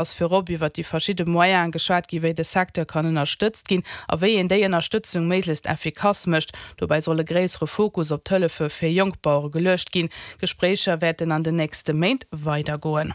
Ass virop iwwert déi verschidde Moyene geschwat gi wéi de Secteur kann ënnerstëtzt ginn a wéi een déi Ënnerstëtzung méiglechst effikass mécht. Dobäi soll e gréissere Fokus op d'Hëllefe fir jonk Bauere geluecht ginn. D'Gespréicher wäerten an den nächste Méint weidergoen.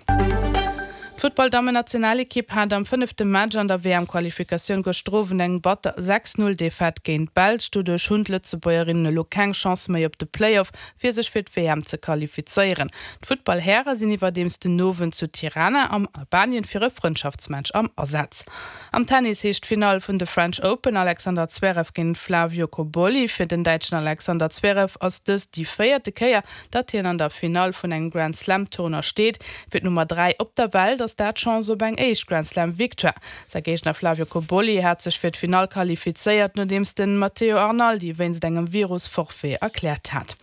D'Futtball-Dammen-Nationalekipp hat am fënnefte Match an der WM-Qualifikatioun gëschter Owend eng batter 6, 0 Defaite géint d'Belsch. Doduerch hunn d'Lëtzebuergerinnen elo keng Chance méi op de Playoff fir sech fir d'WM ze qualifizéieren. D'Futtball-Häre sinn iwwerdeems den Owend zu Tirana am Albanien fir e Frëndschaftsmatch am Asaz. Am Tennis heescht d'Finall vun de French Open Alexander Zverev géint Flavio Cobolli. Fir den Däitschen Alexander Zverev ass dëst déi véierte Kéier, datt hien an der Finall vun engem Grand-Slam-Tournoi steet. Fir d'Nummer 3 op der Welt ass dat d'Chance op eng éischt Grand-Slam-Victoire. Säi Géigner Flavio Cobolli hat sech fir d'Finall qualifizéiert, nodeems de Matteo Arnaldi wéinst engem Virus Forfait erkläert hat.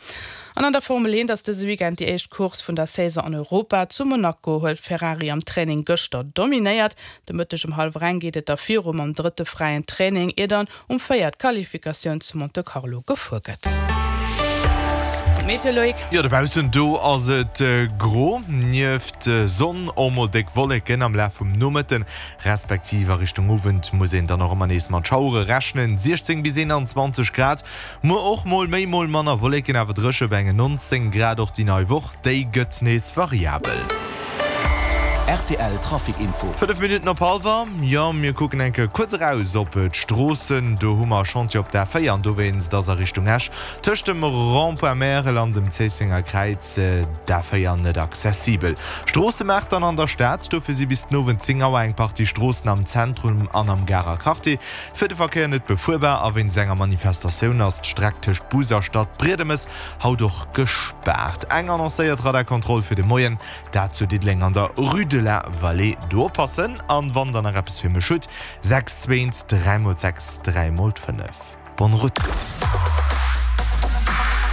An an der Formel 1 ass dëse Weekend déi éischt Course vun der Saison an Europa. Zu Monaco huet Ferrari am Training gëschter dominéiert. De Mëtteg um hallwer eng geet et da viru mam drëtte fräien Training, ier dann um 4 d'Qualifikatioun zu Monte Carlo gefuer gëtt. An d'Meteo, Loïc? Jo, dobaussen do ass et gro, nieft Sonn och mol déck Wolleken. Am Laf vum Nomëtten, respektiv a Richtung Owend muss een dann och ëmmer nees mat Schauere rechnen. 16 bis 21 Grad, muer och mol méi, mol manner Wolleken, awer dréche bei engen 19 Grad. Och déi nei Woch, déi gëtt nees variabel. Rtl Trafic Info. 5 Minutten op hallwer, jo mir kucken eng Kéier kuerz eraus op d'Stroossen. Do hu mer e Chantier op der A4 an dowéinst ass a Richtung Esch tëscht dem Rond-point Märel an dem Zéissenger Kräiz d'A4 net accessibel. Stroossemaart dann an der Stad, dofir si bis den Owend 10 Auer eng Partie Stroossen am Zentrum an am Garer Quartier fir de Verkéier net befuerbar a wéinst enger Manifestatioun ass d'Streck tëscht Bus a Stadbriedemes haut och gespaart. Eng annoncéiert Radarkontroll fir de Moien Dat zu Diddeleng an der Rue de la Vallée. Do oppassen an wann der nach eppes fir mech hutt, 6 2 3 mol 6 3 mol 5. Bonne route.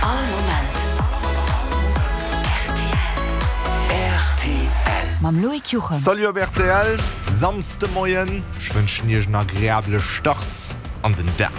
All Moment rtl. Mam Loïc Juchem. Salut op rtl, Samsdemoien. Ech wënschen iech en agreabele Start an den Dag.